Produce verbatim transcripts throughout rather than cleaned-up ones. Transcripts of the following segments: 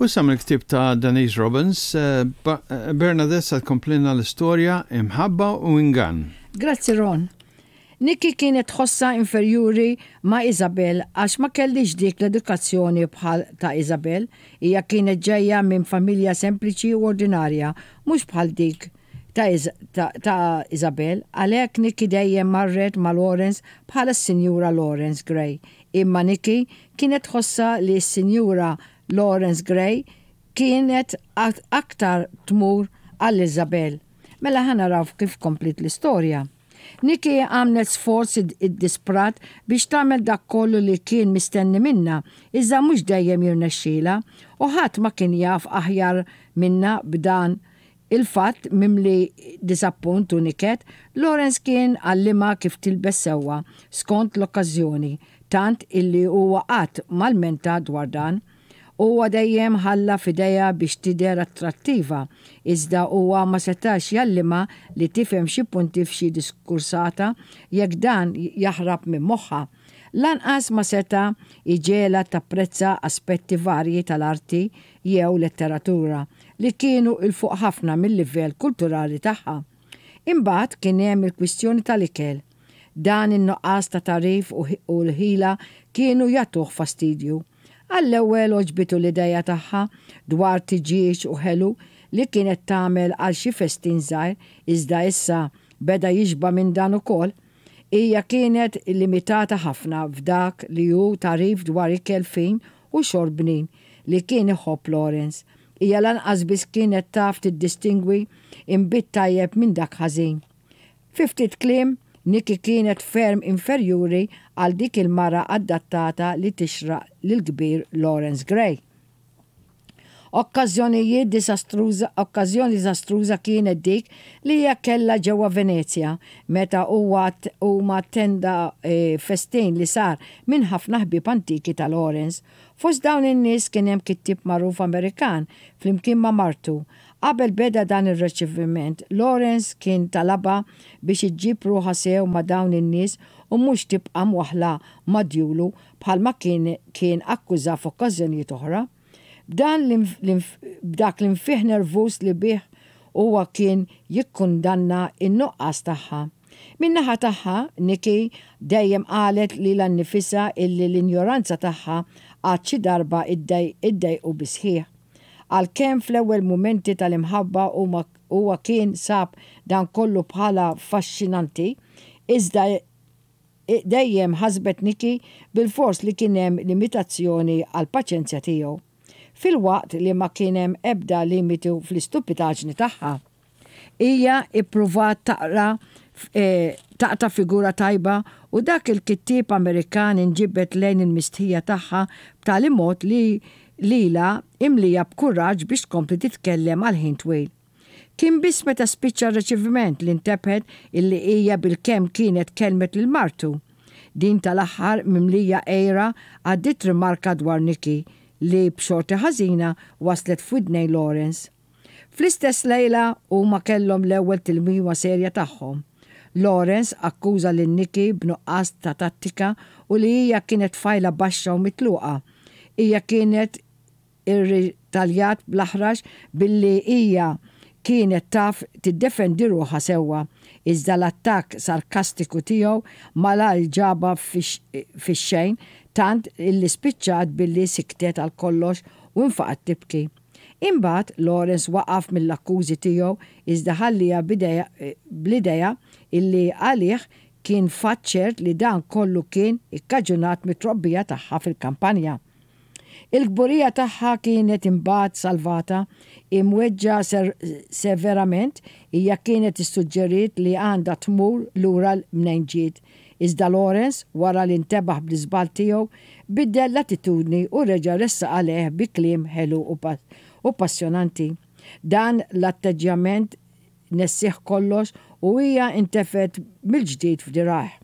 U issa mill-ktieb ta' Denise Robbins, eh, eh, Bernadette sa tkomplilna l-istorja Imħabba u Ingann. Grazzi, Ron. Nikki kienet tħossha inferjuri ma' Isabel għax ma kellhiex dik l-edukazzjoni bħal ta' Isabel. Hija kienet ġejja minn familja sempliċi u ordinarja, mhux bħal dik ta', ta, ta Isabel. Għalhekk Nikki dejjem marret ma' Lawrence bħala s-Sinjura Lawrence Gray. Imma Nikki kienet tħossha li s-Sinjura Lawrence Gray kienet aktar tmur għal Isabel. Mela ħa naraw kif komplit l-istorja. Nikki għamlet sforz iddisprat biex tagħmel dak kollu li kien mistenni minna, iżda mhux dejjem jirnexxila, u ħadd ma kien jaf aħjar minna b'dan il-fatt. Mimli disappunt u niket, Lawrence kien għallimha kif tilbes sewwa skont l-okkażjoni, tant illi huwa qatt ma lmenta dwar dan. Huwa dejjem ħalla f'idejha biex tidher attrattiva, iżda huwa ma setax jgħallimha li tifhem xi punti f'xi diskursata jekk dan jaħrab minn moħħha. Lanqas ma seta jġegħelha tapprezza aspetti varji tal-arti jew letteratura li kienu 'l fuq ħafna mill-livell kulturali tagħha. Imbagħad kien hemm il-kwistjoni tal-ikel. Dan in-nuqqas ta' tagħrif u l-ħila kienu jagħtuh fastidju. Għall-ewwel għoġbitu l-ideja tagħha dwar tiġieġ u ħelu li kienet tagħmel għal xi festin żgħir, iżda issa beda jixba minn dan ukoll. Hija kienet limitata ħafna f'dak li hu tagħrif dwar ikel fin u xorb bnin li kien iħobb Lawrence. Hija lanqas biss kienet taf tiddistingwi imbit tajjeb minn dak ħażin. Fi ftit kliem, Nikki kienet ferm inferjuri għal dik il-mara adattata li tixraq lil kbir Lawrence Gray. Okkażjonijiet disastruża, okkażjoni disastruża kienet dik li hija kellha ġewwa Venezja meta huwa huma attenda e, festin li sar minn ħafna ħbieb antiki ta' Lawrence. Fost dawn in-nies kien hemm kittieb magħruf Amerikan flimkien ma' martu. Qabel beda dan ir-riċeviment, Lawrence kien talabha biex iġġib ruħha sew ma' dawn in-nies u mhux tibqa' mwaħla ma' djulu bħalma kien kien akkuża f'okkażjonijiet oħra. B'dan b'dak l-infih nervus li bih huwa kien jikkundanna in-nuqqas tagħha. Min-naħa tagħha, Nikki dejjem qalet lilha nnifisha illi l-injoranza tagħha għad xi darba iddejqu bis-sħiħ. Għalkemm fl-ewwel mumenti tal-imħabba huwa kien sab dan kollu bħala affaxxinanti, iżda dejjem ħasbet Nikki bil-fors li kien hemm limitazzjoni għall-paċenzja tiegħu, filwaqt li ma kien hemm ebda limitu fl-istupidaġni tagħha. Hija ippruvat taqra e, taqta figura tajba u dak il-kittieb Amerikan inġibet lejn il-mistħija tagħha b'tali mod li lila imlija b'kuraġġ biex tkompli titkellem għal ħin twil. Kien biss meta spiċċa r-riċeviment li ntebħet illi hija bil-kemm kienet kelmet lil martu. Din tal-aħħar, mimlija għira, għaddiet rimarka dwar Nikki li b'xorti ħażina waslet f'widnejn Lawrence. Fl-istess lejla huma kellhom l-ewwel tilwima serja tagħhom. Lawrence akkuża lil Nikki b'nuqqas ta' tattika u li hija kienet tfajla baxxa u mitluqa. Hija kienet irritaljat bl-aħrax billi hija kienet taf tiddefendi ruħha sewwa, iżda l-attakk sarkastiku tiegħu malajr ġabha fix-xejn, tant illi spiċċat billi siktet għal kollox u nfaqat tibki. Imbagħad Lawrence waqaf mill-akkużi tiegħu, iżda ħalliha bl-idea illi għalih kien fatt ċert li dan kollu kien ikkaġunat mit-trobbija tagħha fil-kampanja. Il-kburija tagħha kienet imbagħad salvata. Imweġġa severament, hija kienet issuġġeriet li għandha tmur lura mnejn ġiet. Iżda Lawrence, wara li ntebaħ bl-iżball tiegħu, biddel l-attitudni u reġa' ressaq għalih bi kliem ħelu u passjonanti. Dan l-atteġġjament nessih kollox u hija intefet mill-ġdid f'dirgħajh.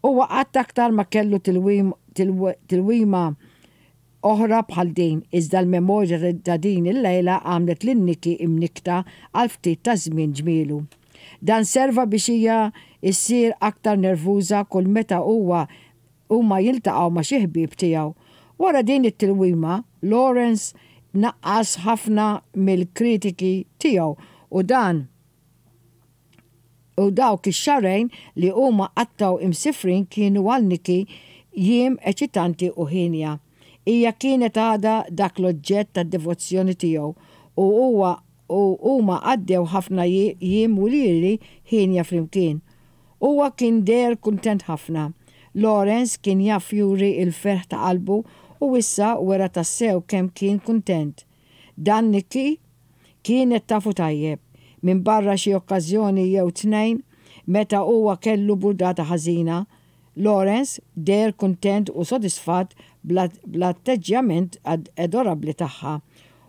Huwa qatt aktar ma kellu tilwima oħra bħal din, iżda l-memorja ta' din il-lejla għamlet lil Nikki imnikta għal ftit ta' żmien ġmielu. Dan serva biex hija issir aktar nervuża kull meta huwa huma jiltaqgħu ma' xi ħbieb tiegħu. Wara din it-tilwima, Lawrence Naqqas ħafna mill-kritiki tiegħu u dan u dawk ix-xahrejn li huma qattgħu imsifrin kienu għal Nikki jiem eċitanti u hienja. Hija kienet għadha dak l-oġġett tad-devozzjoni tiegħu u huwa u huma għaddew ħafna jiem u ljieli hienja flimkien. Huwa kien deher kuntent ħafna. Lawrence kien jaf juri il-ferħ ta' qalbu u issa wera tassew kemm kien kuntent. Dan Nikki kienet tafu tajjeb minn barra xi okkażjoni jew tnejn meta huwa kellu burdata ħażina. Lawrence deher kuntent u sodisfatt bl-atteġġjament adorabli tagħha.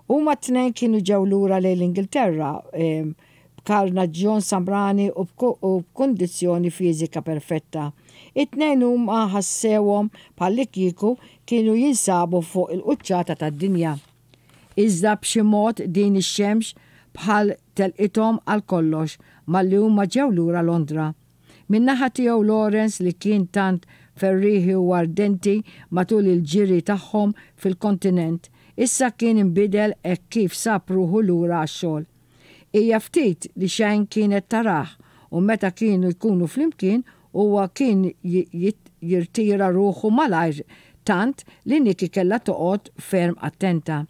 Huma t-tnejn kienu ġew lura lejn l-Ingilterra b'karnaġġjon samrani u b'kundizzjoni fiżika perfetta. It-tnejn huma ħassewhom bħallikieku kienu jinsabu fuq il-quċċata tad-dinja. Iżda b'xi mod din ix-xemx bħal telqithom għal kollox malli huma ġew lura Londra. Min-naħa tiegħu Lawrence li kien tant ferriħi u ardenti matul il-ġiri tagħhom fil-kontinent, issa kien inbidel hekk kif sab ruħu lura għax-xogħol. Hija ftit li xejn kienet tarah u meta kienu jkunu flimkien huwa kien jirtira ruħu malajr tant li Nikki kellha toqgħod ferm attenta.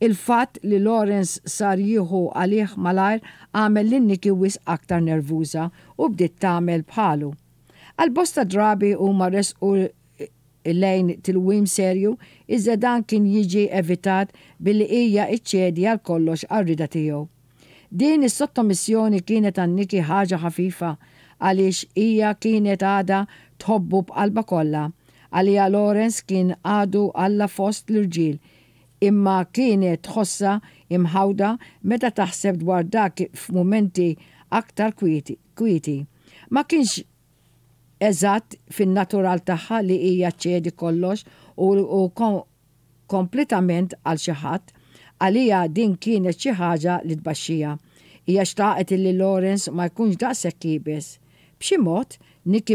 Il-fatt li Lawrence sar jieħu għalih malajr għamel lil Nikki wisq aktar nervuża u bdiet tagħmel bħalu. Għal bosta drabi huma resqu lejn tilwim serju, iżda dan kien jiġi evitat billi hija iċċedi għal kollox għar-rida tiegħu. Din is-sottomissjoni kienet għal Nikki ħaġa ħafifa għaliex hija kienet għadha tħobbu b'qalba kollha. Għalija Lawrence kien għadu Alla fost l-irġiel, imma kienet tħossha imħawda meta taħseb dwar dak f'mumenti aktar kwieti. Ma kienx eżatt fin-natural tagħha li hija ċedi kollox u, u kompletament għal xi ħadd. Għalija din kienet xi ħaġa li tbaxxija. Hija xtaqet illi Lawrence ma jkunx daqshekk iebes. B'xi mod, Nikki